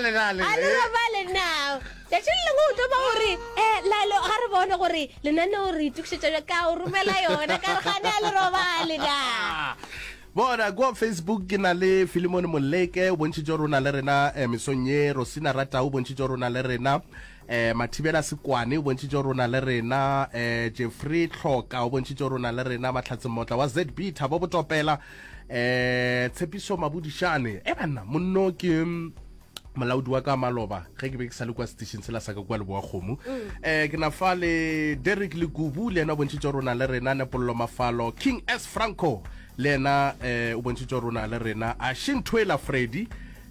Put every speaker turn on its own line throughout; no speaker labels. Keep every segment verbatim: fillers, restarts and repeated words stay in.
robale na le
A le robale na tšatši le lengwe o tlo ba gore um lalo ga re bone gore lenaneo re itokišetša ka o romela yona ka re gane a le robale na
bona kua facebook ke na le filimone moleke o bontšhitše gore o na le rena eh, mesong ye rosina ratau o bontšhitše gore o na le rena eh, mathibela sekwane o bontšhitše gore o na le rena eh, jeffrey tlhoka o bontšhitše gore o na le rena mahlatse mmotla wa zb thabo botopela eh, tshepiso mabodišane e banna monno ke mm, molaodi wa ka maloba ge ke be ke sa le kwa station sela sa ka kua leboa kgomo um ke na fa le derek lekubu le yena o bontšhitše gore o na le rena nepollo mafalo king s franco le yena um o bontšhitše gore o na le rena a shintwela freddy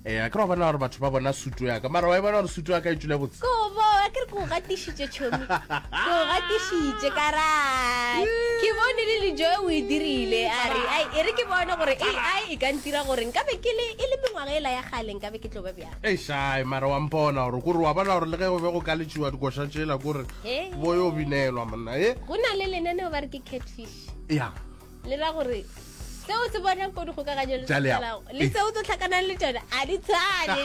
um a ke re wa bona gore batho ba bona sutu ya ka mara wa e bona gore sutu ya ka e tswile botse
kobo a ke re ko gatišitše tšhomi ko gatišitše ka rae ke bone le lejoe o e dirile a re ai e re ke bone gore ai e ka ntira gore nkabe ke le e le mengwaga ela ya kgale nkabe ke tlo ba bjang
eišae mara wa mpona gore kore wa bona gore le ge go be go ka letšiwa dikoša tšela kore
Hei.
bo yo binelwa monna e
go na le lenaneo ba re ke catfish
ya
le ra gore seo se bonang ko dikgokaganyo le
Tša leago.
tselago, le seo tlo tlhakanang le tsone a di tshwane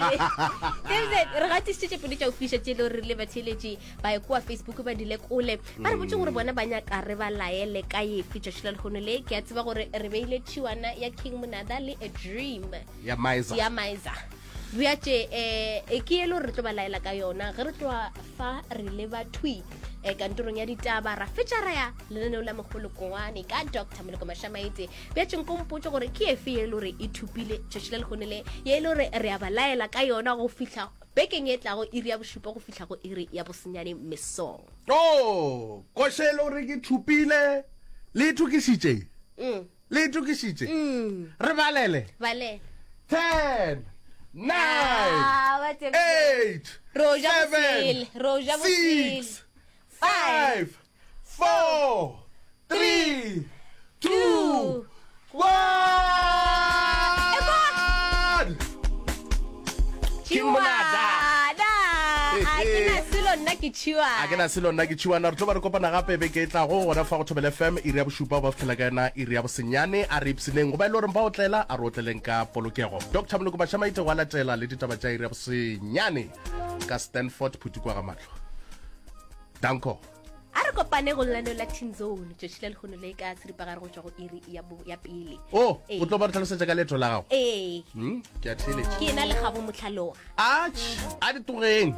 David, re gatisitše tše pedi tša go fiša tše e le gore re le batheeletši ba ye kua facebook ba di lekole ba re botse gore bona ba nyaka re ba laele ka efe tšatši la lehono le ke a tseba gore re beile tšhiwana ya king monada le a dream
ya miser
ya miser bjatše um ke e le gore re tlo ba laela ka yona ge re tloa fa re leba thwi um kantorong ya ditaba ra fetša ra ya lenaneo la mogolokongwane ka dr moloko mašamaitse bjatše nko mpotse gore ke efe ye e le gore e thupile tšatši la lekgone le ye e le gore re a ba laela ka yona go fihla bekeng e tlago iri ya bošupa go fihla go iri ya bosenyane mesong
o koše e le gore ke thupile le itokišitše
mm.
le itokišitše
mm.
re balele
balele
ten nine
Ah, wa tsebe.
eight
Ro ja
seven
bosele, ro ja bosele.
six five four three two one King Monada.
Tšhiwana. A ke na selo nna ke tšhiwana
a ke na selo nna ke tšhiwana re tlo ba re kopana gape beke e tlago gona fa go thobela fm iri ya bošupa ba fitlhela ka yona iri ya bosenyane a re ipshineng go ba e le goreng ba otlela a re otleleng ka polokego dr moloko mašamaite go a latela le ditaba tša iri ya bosenyane ka stanford phutukwa ga mahlo danko
a re kopane go lenaneo la teen zone tšatši la lehono le ka seripagare go tšwa go iri ya, bo- ya pele
o
Ee.
o tlo ba re tlhalosetša ka leeto la gago
ee
Hmm, ke a theeletša
ke ena le gabo motlhaloga
atšh a di togeng